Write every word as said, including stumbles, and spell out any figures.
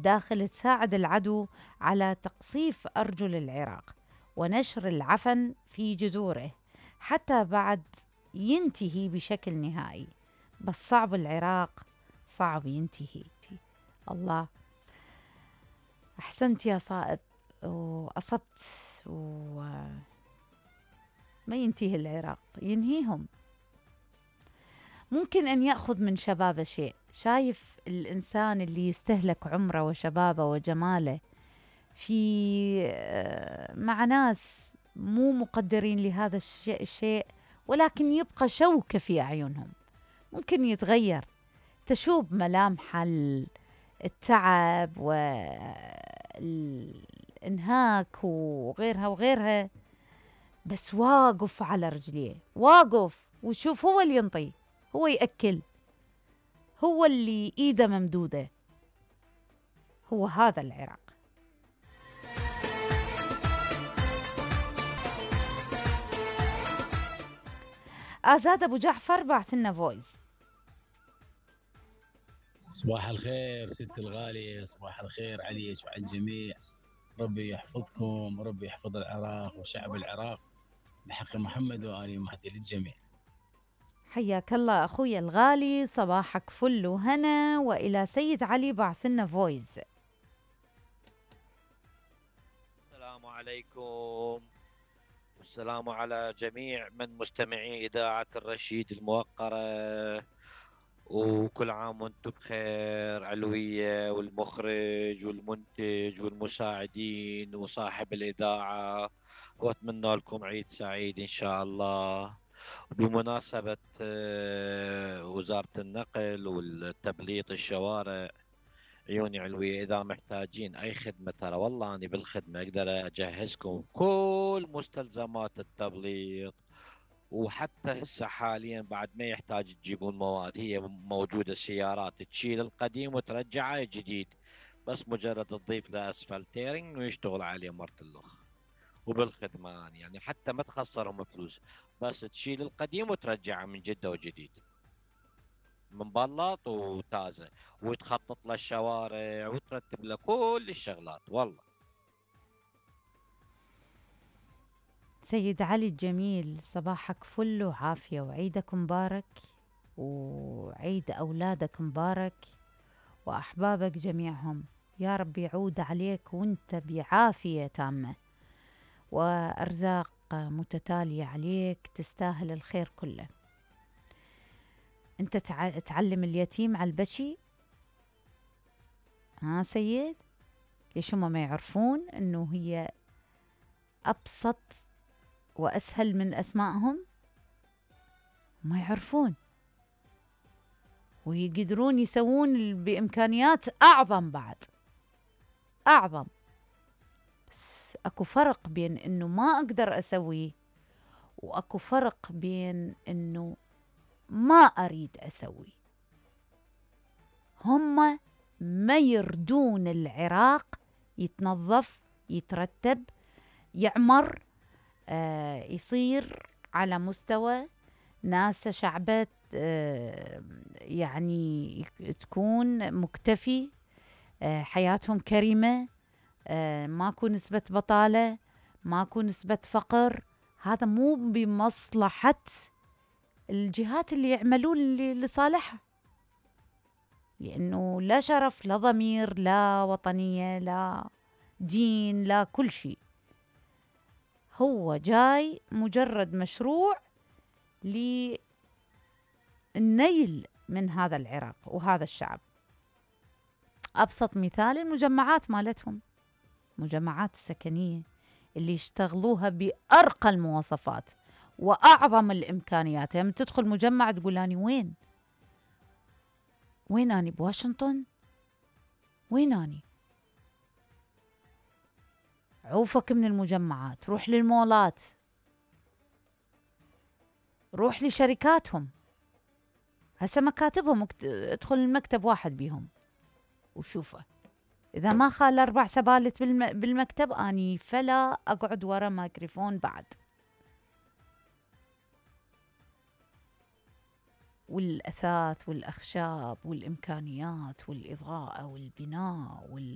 داخل تساعد العدو على تقصيف أرجل العراق ونشر العفن في جذوره حتى بعد ينتهي بشكل نهائي. بس صعب العراق صعب ينتهي. الله، أحسنت يا صائب وأصبت. وما ينتهي العراق، ينهيهم. ممكن أن يأخذ من شبابه شيء. شايف الإنسان اللي يستهلك عمره وشبابه وجماله في مع ناس مو مقدرين لهذا الشيء, الشيء ولكن يبقى شوكة في أعينهم. ممكن يتغير، تشوب ملامح التعب والإنهاك وغيرها وغيرها، بس واقف على رجليه، واقف وشوف هو اللي ينطي، هو يأكل، هو اللي إيده ممدودة. هو هذا العراق. آزاد أبو جعفر بعث لنا فويس. صباح الخير ست الغالية، صباح الخير عليك وعلى الجميع. ربي يحفظكم وربي يحفظ العراق وشعب العراق بحق محمد وآل مهدي للجميع. حياك الله أخوي الغالي، صباحك فل وهنا. وإلى سيد علي بعث لنا فويس. السلام عليكم والسلام على جميع من مستمعي إذاعة الرشيد الموقرة، وكل عام وانتم بخير. علوية والمخرج والمنتج والمساعدين وصاحب الإذاعة، وأتمنى لكم عيد سعيد إن شاء الله. بمناسبة وزارة النقل والتبليط الشوارع، عيوني علوية، إذا محتاجين أي خدمة ترى والله أنا بالخدمة أقدر أجهزكم كل مستلزمات التبليط. وحتى هسه حاليا بعد ما يحتاج تجيبون مواد، هي موجودة سيارات تشيل القديم وترجعه جديد، بس مجرد تضيف له اسفلتيرنج ويشتغل عليه مرتلخ. وبالخدمة يعني حتى ما تخسرهم فلوس، بس تشيل القديم وترجعه من جدة وجديد، مبلط وتازة، وتخطط له الشوارع وترتب له كل الشغلات والله. سيد علي الجميل، صباحك فل وعافية، وعيدك مبارك، وعيد أولادك مبارك، وأحبابك جميعهم يا رب يعود عليك وانت بعافية تامة وأرزاق متتالية عليك، تستاهل الخير كله. انت تعلم اليتيم على البشي، ها سيد؟ ليش هم ما يعرفون انه هي أبسط وأسهل من أسمائهم؟ ما يعرفون ويقدرون يسوون بإمكانيات أعظم، بعد أعظم. بس أكو فرق بين إنه ما أقدر أسويه، وأكو فرق بين إنه ما أريد أسوي. هم ما يردون العراق يتنظف، يترتب، يعمر، آه يصير على مستوى ناس شعبة، آه يعني تكون مكتفي، آه حياتهم كريمة، آه ماكو نسبة بطالة، ماكو نسبة فقر. هذا مو بمصلحة الجهات اللي يعملون لصالحها، لأنه لا شرف، لا ضمير، لا وطنية، لا دين، لا كل شيء. هو جاي مجرد مشروع للنيل من هذا العراق وهذا الشعب. أبسط مثال المجمعات مالتهم، مجمعات السكنية اللي يشتغلوها بأرقى المواصفات وأعظم الإمكانيات. يعني تدخل مجمع تقول أني وين؟ وين أني؟ بواشنطن؟ وين أني؟ عوفك من المجمعات، روح للمولات، روح لشركاتهم. هسه مكاتبهم مكت... ادخل المكتب واحد بيهم وشوفه، إذا ما خال أربع سبالت بالم... بالمكتب أني فلا أقعد ورا ميكروفون بعد. والأثاث والأخشاب والإمكانيات والإضاءة والبناء وال...